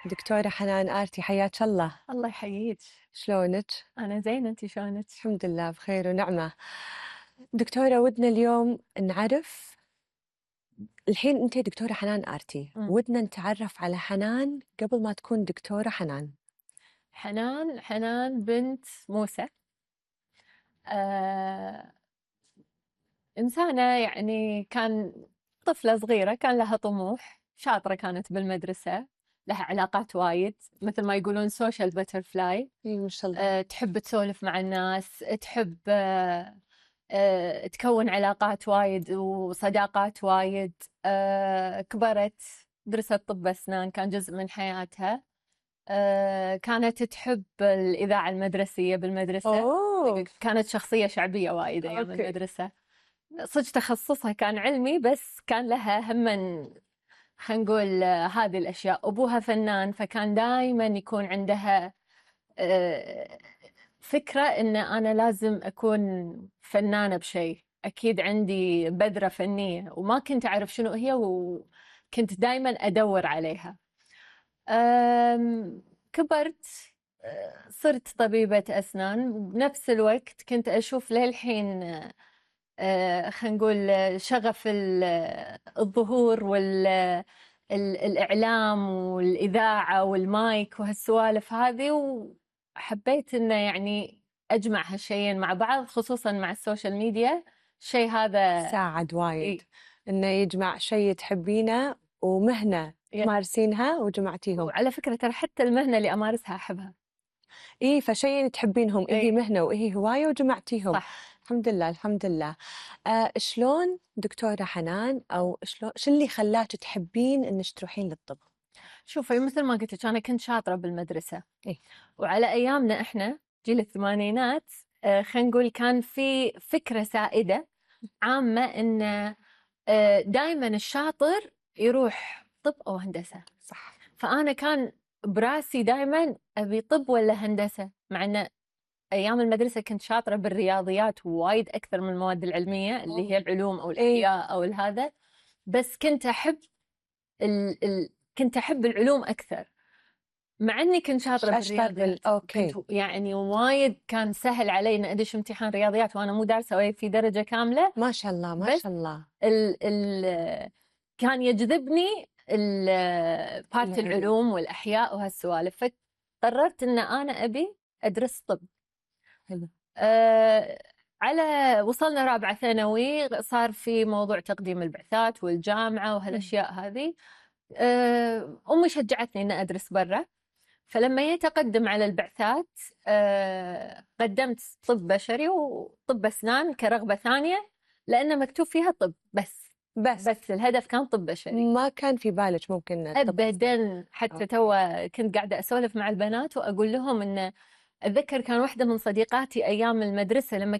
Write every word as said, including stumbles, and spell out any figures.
دكتورة حنان آرتي، حياك الله. الله يحييك. شلونك؟ أنا زينة، أنتِ شلونك؟ الحمد لله بخير ونعمة. دكتورة ودنا اليوم نعرف، الحين أنت دكتورة حنان آرتي، م. ودنا نتعرف على حنان قبل ما تكون دكتورة حنان. حنان حنان بنت موسى، آه إنسانة يعني كان طفلة صغيرة كان لها طموح، شاطرة كانت بالمدرسة، لها علاقات وايد، مثل ما يقولون سوشيال باترفلاي. إي ما شاء الله. آه تحب تسولف مع الناس، تحب آه آه تكون علاقات وايد وصداقات وايد. آه كبرت درست طب أسنان، كان جزء من حياتها. آه كانت تحب الإذاعة المدرسية بالمدرسة. أوه. كانت شخصية شعبية وايد أيام أوكي. المدرسة. صدق تخصصها كان علمي، بس كان لها هم خلينا نقول آه، هذه الأشياء. أبوها فنان، فكان دائما يكون عندها آه، فكرة إن أنا لازم أكون فنانة بشيء، أكيد عندي بذرة فنية، وما كنت أعرف شنو هي، وكنت دائما أدور عليها. أم، كبرت، أه، صرت طبيبة أسنان. بنفس الوقت كنت أشوف للحين أه، خلينا نقول شغف ال- الظهور والإعلام والإذاعة والمايك وهالسوالف هذه، وحبيت إنه يعني أجمع هالشيئين مع بعض، خصوصا مع السوشيال ميديا. الشيء هذا ساعد وايد إيه. إنه يجمع شيء تحبينه ومهنة يس. تمارسينها وجمعتيهم. وعلى فكرة ترى حتى المهنة اللي أمارسها أحبها. إيه، فشيء تحبينهم، إيه إيه. مهنة وإيه هواية وجمعتيهم. صح. الحمد لله الحمد لله. آه شلون دكتورة حنان، أو شلون شو اللي خلاك تحبين إنك تروحين للطب؟ شوفي، مثل ما قلت لك أنا كنت شاطرة بالمدرسة. إيه. وعلى أيامنا إحنا جيل الثمانينات، آه خلينا نقول كان في فكرة سائدة عامة إن آه دائما الشاطر يروح طب أو هندسة. صح. فأنا كان براسي دائما أبي طب ولا هندسة، مع أن أيام المدرسة كنت شاطرة بالرياضيات وايد أكثر من المواد العلمية اللي هي العلوم أو الأحياء أو هذا. بس كنت أحب ال... ال... كنت أحب العلوم أكثر، مع أني كنت شاطرة بالرياضيات. أوكي. كنت يعني وايد كان سهل علي إن أدش امتحان رياضيات وأنا مو دارسة ولا في درجة كاملة. ما شاء الله ما شاء الله. ال... ال... كان يجذبني بارت العلوم والأحياء وهالسوالف، فقررت إن أنا أبي أدرس طب. حلو. أه على وصلنا رابعة ثانوي، صار في موضوع تقديم البعثات والجامعة وهالأشياء هذه. أه أمي شجعتني إن أدرس برا، فلما يتقدم على البعثات أه قدمت طب بشري وطب أسنان كرغبة ثانية، لأنه مكتوب فيها طب بس. بس بس الهدف كان طب بشري. ما كان في بالك ممكن الطب؟ أبدا. حتى توا كنت قاعدة أسولف مع البنات وأقول لهم إن أتذكر كان واحدة من صديقاتي أيام المدرسة لما